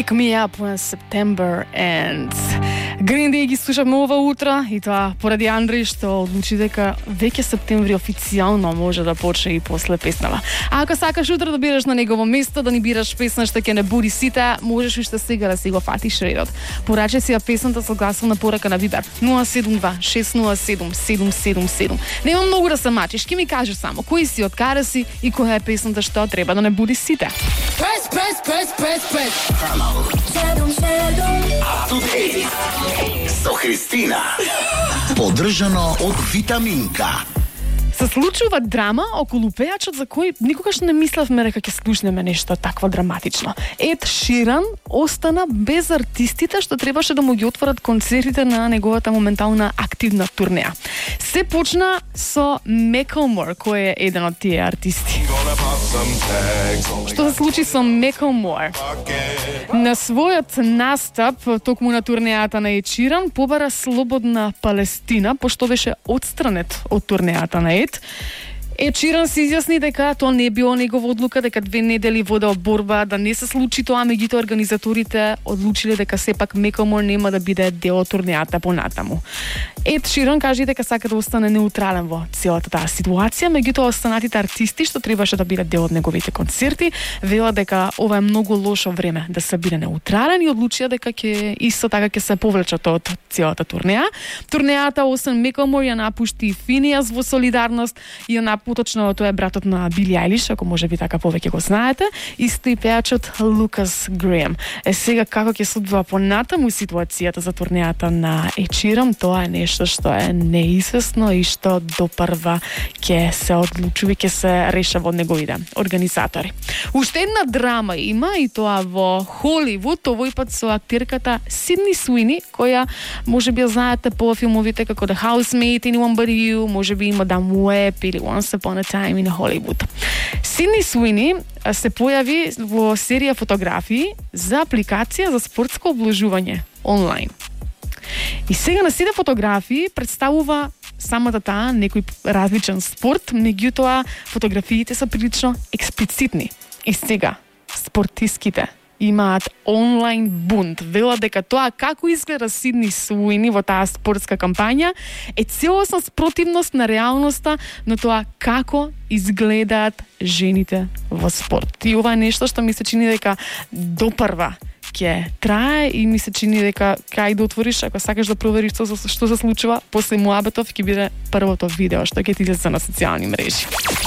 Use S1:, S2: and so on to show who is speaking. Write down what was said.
S1: Wake me up when September ends. Green Day ги слушавме ова утро и тоа поради Андреј што одлучи дека веќе септември официјално може да почне и после песнава. А ако сакаш утро да бидеш на негово место, да ни бираш песна што ќе не буди сите, можеш уште сега да си го фатиш редот. Порачи си ја песната со гласовна порака на Viber 072-607-777. Нема многу да се мачиш, ќе ми кажеш само кој си, од каде си и која е песната што треба да не буди сите.
S2: Press. Со Христина. Поддржано од Витаминка.
S1: Се случува драма околу пејачот за кој никогаш не мислевме дека ќе слушнеме нешто такво драматично. Ед Ширан остана без артистите што требаше да му ги отворат концертите на неговата моментална активна турнеја. Се почна со Мекълмор, кој е еден од тие артисти. Што се случи со Мекълмор? На својот настап токму на турнејата на Ед Ширан побара Слободна Палестина, пошто беше отстранет од турнејата на Ед Ширан се изјасни дека тоа не било негова одлука, дека 2 недели водел борба да не се случи тоа, меѓутоа организаторите одлучиле дека сепак Мекълмор нема да биде дел од турнејата понатаму. Ед Ширан кажа дека сака да остане неутрален во целата таа ситуација, меѓутоа останатите артисти што требаше да бидат дел од неговите концерти велат дека ова е многу лошо време да се биде неутрален и одлучија дека ќе исто така ќе се повлечат од целата турнеја. Турнејата освен Мекълмор ја напушти Финијас во солидарност и поточно тоа е братот на Били Ајлиш, ако може би така повеќе го знаете, исто и пејачот Лукас Греем. Сега како ќе се одвива понатаму ситуацијата за турнејата на Ед Ширан, тоа е нешто што е неизвестно и што допрва ќе се одлучува, ќе се решава од неговите организатори. Уште една драма има и тоа во Холивуд, овој пат со актерката Сидни Суини, која може би ја знаете по филмовите како The Housemaid, Anyone But You, може би има Madame Web или Once Upon a Time in Hollywood. Сидни Суини се појави во серија фотографии за апликација за спортско обложување онлайн. И сега на сите фотографии представува самата таа некој различен спорт, меѓутоа фотографиите се прилично експлицитни. И сега спортиските имаат онлайн бунт. Велат дека тоа како изгледа Сидни Суини во таа спортска кампања е целосна спротивност на реалноста на тоа како изгледаат жените во спорт. И ова е нешто што ми се чини дека допрва ќе трае и ми се чини дека кај да отвориш, ако сакаш да провериш што се случува, после муабетов ќе биде првото видео што ќе ти излезе на социјални мрежи.